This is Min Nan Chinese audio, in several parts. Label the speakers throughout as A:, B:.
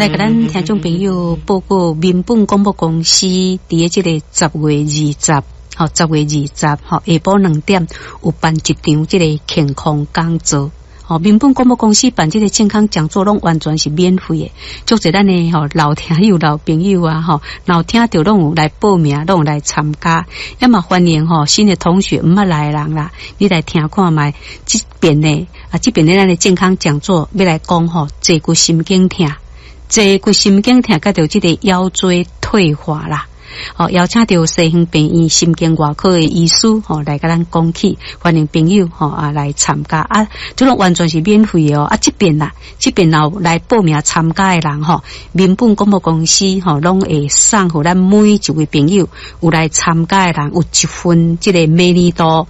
A: 來共咱聽眾朋友報告，民本廣播公司佇咧這個10月20，吼，十月二十，吼，下晡2點有辦一場這個健康講座。吼，民本廣播公司辦這個健康講座，攏完全是免費的。足濟咱的吼老聽友、老朋友啊，吼，若有聽著攏有來報名，攏有來參加。也嘛歡迎吼新的同學毋捌來的人啦，你來聽看覓。這遍呢啊，這遍的咱的健康講座欲來講吼，坐骨神經痛，坐骨神經痛，佮著這個腰椎退化啦。吼，邀請著西園病院神經外科的醫師吼來共咱講起，歡迎朋友吼啊來參加啊，這攏完全是免費的哦。啊，這遍啦，這遍若有來報名參加的人吼，民本廣播公司吼攏會送予咱每一位朋友有來參加的人有一份這個美麗度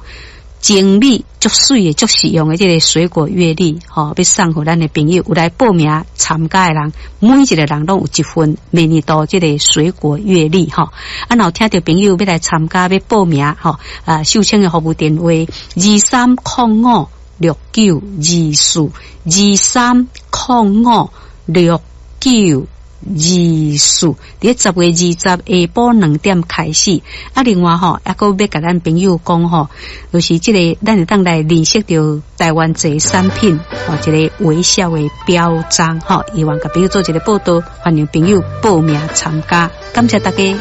A: 精美足媠的足實用的這個水果月曆，吼，欲送予咱的朋友有來報名參加的人，每一個人攏有一份美麗度這個水果月曆，吼。啊，若有聽著朋友欲來參加欲報名，吼，啊，秀清的服務電話23056924，23056924，佇咧10月20下晡2點開始。啊，另外吼，猶閣欲共咱朋友講吼，就是這個咱會當來認識著台灣這產品，吼，一個微笑的標章，吼，希望共朋友做一個報道，歡迎朋友報名參加，感謝大家。